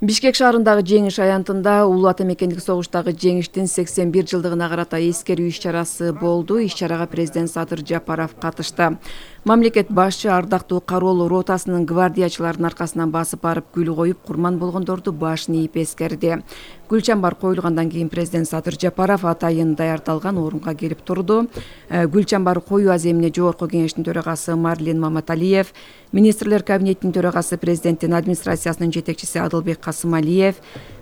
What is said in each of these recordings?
Бишкек шаарындагы жеңиш аянтында улуу ата мекендик согуштагы жеңиштин 81 жылдыгына карата эскерүү иш-чарасы болду. Иш-чарага президент Садыр Жапаров катышты. Мамлекет башчы ардактуу кароолуу ротасынын гвардиячыларынын аркасынан басып барып гүл коюп, курман болгондорду башын ийип эскерди. Гүл чамбар коюлгандан кийин президент Садыр Жапаров атайын даярдалган орунга келип турду. Гүл чамбар коюу аземине жогорку кеңештин төрагасы Марлен Маматалиев, министрлер кабинетинин төрагасы, президенттин администрациясынын жетекчиси Адылбек Касымалиев,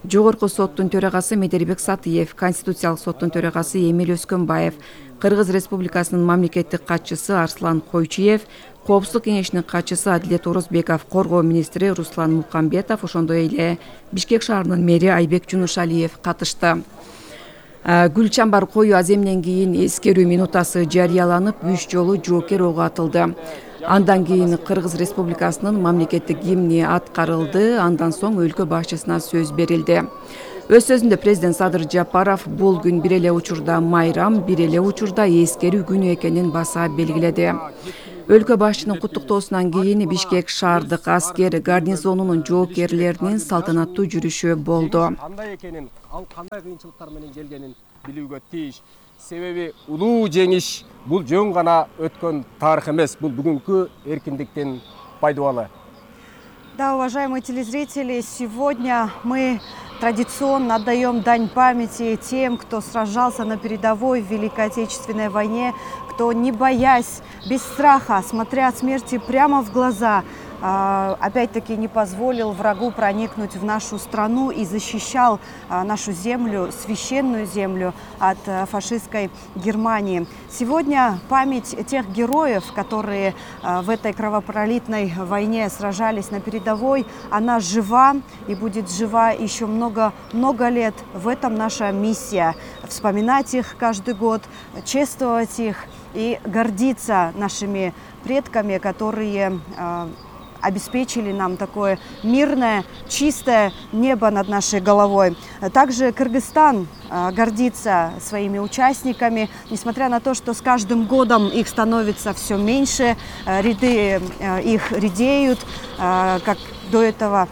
жогорку соттун төрагасы Медербек Сатыев, конституциялык соттун төрагасы Эмил Өскөнбаев, Кыргыз Республикасынын мамлекеттик катчысы Арслан Койчуев, Коопсуздук кеңешинин катчысы Адилет Орозбеков, коргоо министри Руслан Мукамбетов, ошондой эле Бишкек шаарынын мэри Айбек Жунушалиев катышты. Гүл чамбар коюу аземинен кийин эскерүү минутасы жарыяланып, 3 жолу жоокер ого атылды. Андан кийин Кыргыз Республикасынын мамлекеттик гимни аткарылды. Андан соң өлкө башчысына сөз берилди. Өз сөзүндө президент Садыр Жапаров бул күн бир эле учурда майрам, бир эле учурда эскерүү күнү экенин баса белгиледи. Өлкө башчынын куттуктоосунан кийин Бишкек шаардык аскер гарнизонунун жоокерлеринин салтанаттуу жүрүшү болду. Кандай экенин, ал кандай кыйынчылыктар менен келгенин билүүгө тийиш. Себеби улуу жеңиш бул жөн гана өткөн тарых эмес, бул бүгүнкү эркиндиктин пайдубалы. Да, уважаемые телезрители, сегодня мы традиционно отдаем дань памяти тем, кто сражался на передовой в Великой Отечественной войне, кто, не боясь, без страха, смотря смерти прямо в глаза, опять-таки не позволил врагу проникнуть в нашу страну и защищал нашу землю, священную землю от фашистской Германии. Сегодня память тех героев, которые в этой кровопролитной войне сражались на передовой, она жива и будет жива еще много лет. В этом наша миссия – вспоминать их каждый год, чествовать их и гордиться нашими предками, которые обеспечили нам такое мирное, чистое небо над нашей головой. Также Кыргызстан гордится своими участниками, несмотря на то, что с каждым годом их становится все меньше, ряды их редеют, как до этого.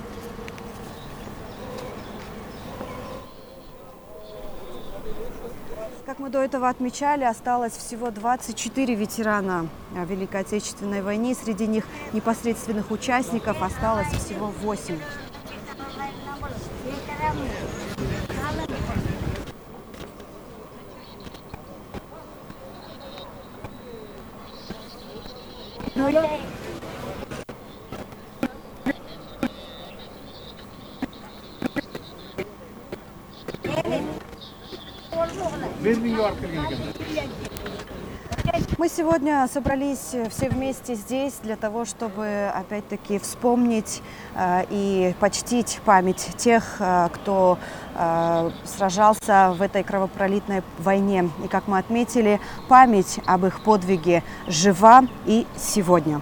Как мы до этого отмечали, осталось всего 24 ветерана Великой Отечественной войны. Среди них непосредственных участников осталось всего 8. Мы сегодня собрались все вместе здесь для того, чтобы опять-таки вспомнить и почтить память тех, кто сражался в этой кровопролитной войне. И как мы отметили, память об их подвиге жива и сегодня.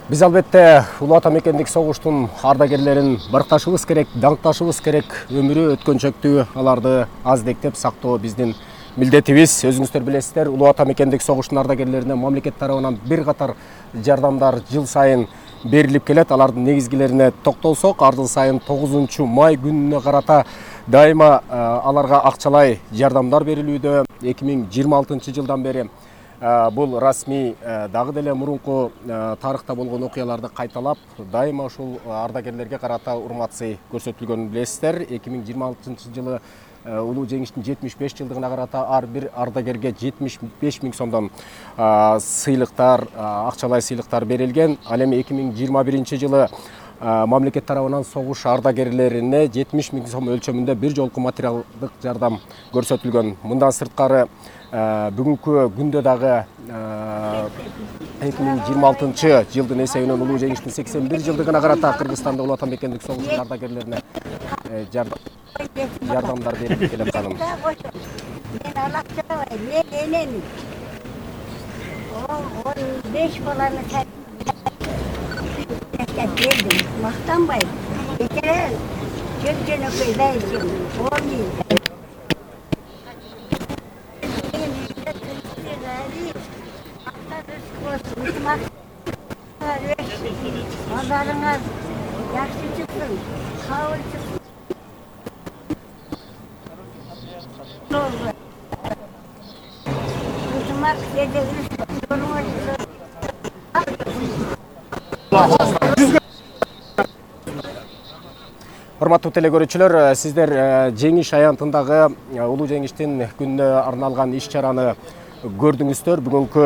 Биз албетте улуу ата мекендик согуштун ардагерлерин баркташыбыз керек, даңкташыбыз керек. Өмүрү өткөнчөктүү, аларды аздектеп сактоо биздин милдетибиз. Өзүңүздөр билесиздер, улуу ата мекендик согуштун ардагерлерине мамлекет тарабынан бир катар жардамдар жыл сайын берилип келет. Алардын негизгилерине токтолсок, ар жыл сайын 9 май күнүнө карата дайыма аларга акчалай жардамдар берилүүдө. 2026 жылдан бери бул расмий дагы деле мурунку тарыхта болгон окуяларды кайталап, дайыма ушул ардагерлерге карата урмат-сый көрсөтүлгөнүн билесиздер. 2026 жылы улуу жеңиштин 75 жылдыгына карата ар бир ардагерге 75 000 сомдон сыйлыктар, акчалай сыйлыктар берилген. Ал эми 2021 жылы мамлекет тарабынан согуш ардагерлерине 70 000 сом өлчөмүндө бир жолку материалдык жардам көрсөтүлгөн. Мындан сырткары бүгүнкү күндө дагы 2026 жылдын эсебинен улуу жеңиштин 81 жылдыгына карата Кыргызстанда улуу ата мекендик согуштун ардагерлерине жардамдар берип келет каным. Мактанбай, Yaxshi chiqsin, sog'lik chiqsin. Iltimos, kechagini Урматтуу телекөрүүчүлөр, сиздер жеңиш аянтындагы улуу жеңиштин күнүнө арналган иш-чараны көрдүңүздөр. Бүгүнкү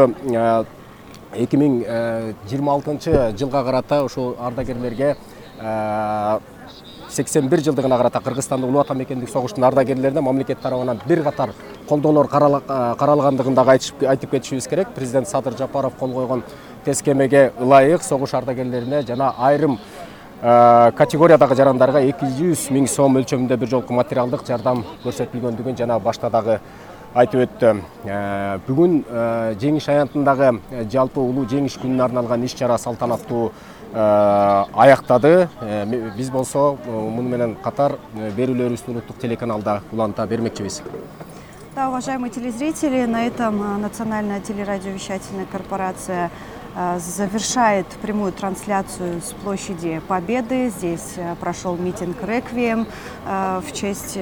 2026 жылга карата ушул ардагерлерге 81 жылдыгына карата Кыргызстандын улуу ата мекендик согуштун ардагерлерине мамлекет тарабынан бир катар колдоолор каралгандыгын дагы айтып кетишибиз керек. Президент Садыр Жапаров кол койгон тескемеге ылайык согуш ардагерлерине жана айрым категориядагы жарандарга 200 000 сом өлчөмүндө бир жолку материалдык жардам көрсөтүлгөндүгүн жана башта дагы айтып өттү. Бүгүн жеңиш аянтындагы жалпы улуу жеңиш күнүнө арналган иш-чара салтанаттуу аяктады. Биз болсо муну менен катар берүүлөрүбүздү улуттук телеканалда уланта бермекчибиз. Да, уважаемые телезрители, на этом Национальная телерадиовещательная корпорация завершает прямую трансляцию с площади Победы. Здесь прошел митинг «Реквием» в честь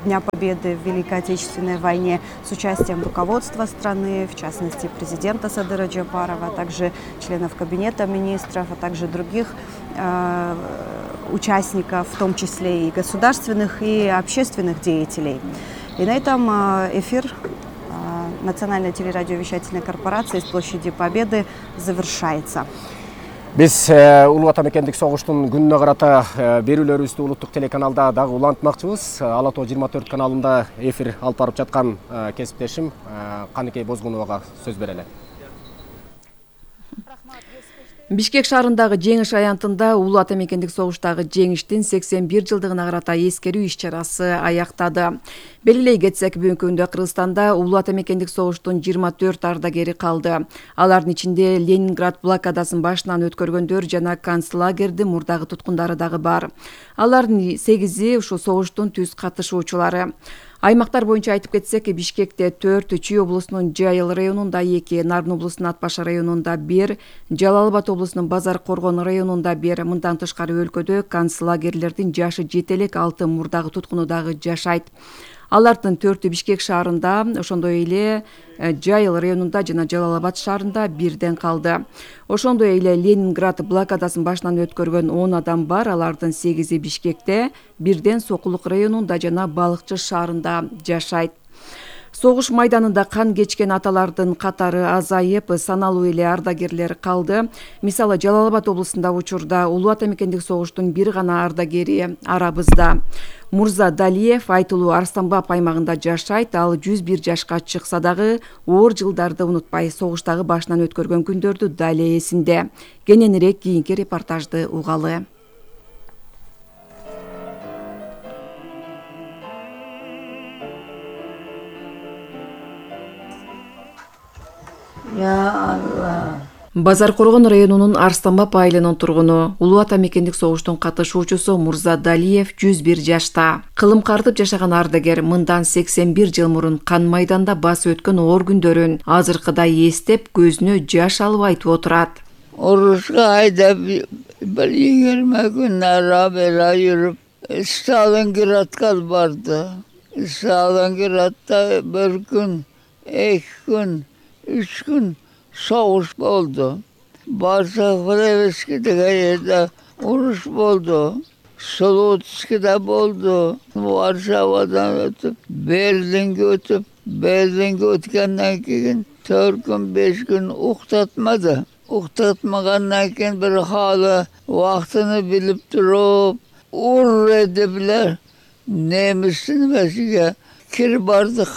Дня Победы в Великой Отечественной войне с участием руководства страны, в частности президента Садыра Джапарова, а также членов Кабинета министров, а также других участников, в том числе и государственных и общественных деятелей. И на этом эфир Национальной телерадиовещательной корпорации с площади Победы завершается. Биз улуу ата мекендик согуштун күнүнө карата берүүлөрүбүздү улуттук телеканалда дагы улантмакчыбыз. Ала Тоо 24 каналында эфир алып барып жаткан кесиптешим Каныкей Бозгуновага сөз берели. Бишкек шаарындагы жеңиш аянтында улуу ата мекендик согуштагы жеңиштин 81 жылдыгына карата эскерүү иш-чарасы аяктады. Белгилей кетсек, бүгүнкү күндө Кыргызстанда улуу ата мекендик согуштун 24 ардагери калды. Алардын ичинде Ленинград блокадасын башынан өткөргөндөр жана концлагердин мурдагы туткундары дагы бар. Алардын 8-и ушул согуштун түз катышуучулары. Аймактар боюнча айтып кетсек, Бишкекте 4, Чүй облусунун Жайыл районунда 2, Нарын облусунун Атбаш районунда 1, Жалал Абад облусунун Базар Коргон районунда 1, мындан тышкары өлкөдө концлагерлердин жашы жете элек 6 мурдагы туткуну дагы жашайт. Алардын 4-ü Бишкек шаарында, ошондой эле Жайыл районунда жана Жалал Абад шаарында бирден калды. Ошондой эле Ленинград блокадасын башынан өткөргөн 10 адам бар. Алардын 8-и Бишкекте, бирден Сокулук районунда жана Балыкчы шаарында жашайт. Согуш майданында кан кечкен аталардын катары азайып, саналуу эле ардагерлер калды. Мисалы, Жалал Абад облусунда учурда улуу ата мекендик согуштун бир гана ардагери арабызда. Мурза Далиев Айтылуу Арстанбап аймагында жашайт. Ал 101 жашка чыкса дагы оор жылдарды унутпай, согуштагы башынан өткөргөн күндөрдү дали эсинде. Кененирээк кийинки репортажды угалы. Базар Коргон районунун Арстанбап айылынын тургуну, улуу ата мекендик согуштун катышуучусу Мурза Далиев 101 жашта. Кылым картып жашаган ардагер мындан 81 жыл мурун кан майданда басып өткөн оор күндөрүн азыркыдай эстеп, көзүнө жаш алып айтып отурат. Орусга айдап бир 20 күн ара-бера жүрүп, Сталинградка барды. Сталинградда bir күн, 2 күн, 3 күн soğuş oldu. Barsakhlevski'de yerdə uruş oldu. Solutski'de oldu. Varşavadan ötüp, Berlin'e ötüp, Berlin'e ötkenden keyin 4 gün, 5 gün uqtatmadı. Uqtatmagandan keyin bir halı vaxtını bilip durup, ur edipler. Nemisini mesiga kirip bardık.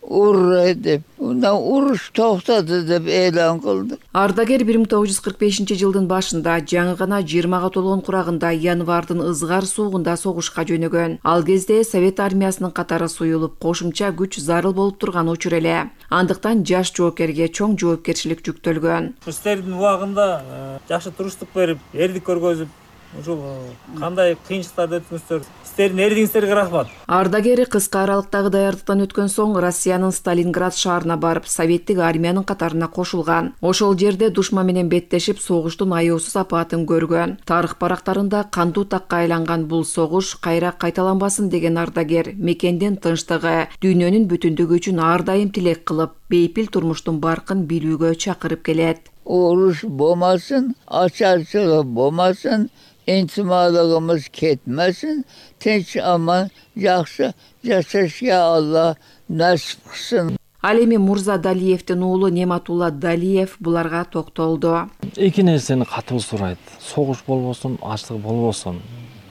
Ur edip, undan uruş toxtadı dep e'lon qildi. Ardager 1945-жылдын башында жаңы гана 20га толгон курагында январдын ызгар суугунда согушка жөнөгөн. Ал кезде Совет армиясынын катары суюлуп, кошумча күч зарыл болуп турган учур эле. Андыктан жаш жоопкерге чоң жоопкерчилик жүктөлгөн. Истердин убагында жакшы туруштук берип, эрдик көргөзүп, ушул кандай кыйынчылыктарды өткөнсүздөр, сиздердин эрдигиңиздерге рахмат. Ардагер кыска аралыктагы даярдыктан өткөн соң Россиянын Сталинград шаарына барып, советтик армиянын катарына кошулган. Ошол жерде душман менен беттешип, согуштун аяусуз апаатын көргөн. Тарых барактарында кандуу такка айланган бул согуш кайра кайталанбасын деген ардагер мекендин тынчтыгы, дүйнөнүн бүтүндүгү үчүн ар дайым тилек кылып, бейпил турмуштун баркын билүүгө чакырып келет. Uruş болмасын, açarçılık болмасын, intimalığımız ketmesin, tinç aman, жақсы жашашка Allah nasip kılsın. Ал эми Мурза Далиевдин уулу Нематулла Далиев буларга токтолду. Эки нерсени катуу сурайт. Согуш болбосун, ачлык болбосун,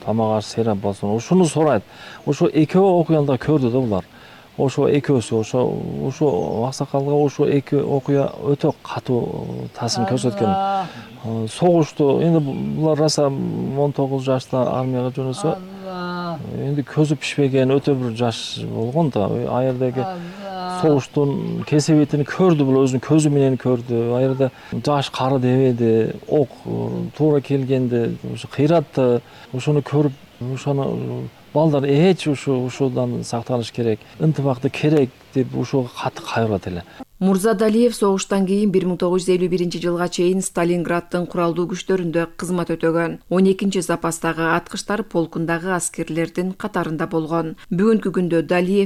тамак аш серап болсун. Ушуну сурайт. Ошо экөө окуяда көрдү да булар. Ошо экөөсү, ошо аксакалга ошо эки окуя өтө катуу таасир көрсөткөн. Согушту эми булар раса 19 жашта армияга жөнөсө, эми көзү пишпеген өтө бир жаш болгон да. Ал жердеги согуштун кесебетин көрдү, бул өзүнүн көзү менен көрдү. Ал жерде жаш кары дебеди, ок туура келгенде, ошо кыйратты. Ошону көрүп, ошону балдар ушудан сактаныш керек, ынтымакты керек деп ушуга катты кайрылат эле. Мурза Далиев согуштан кийин 1951 жылга чейин Сталинграддын куралдуу күчтөрүндө кызмат өтөгөн. 12 запастагы аткычтар полкундагы аскерлердин катарында болгон. Бүгүнкү күндө Далиев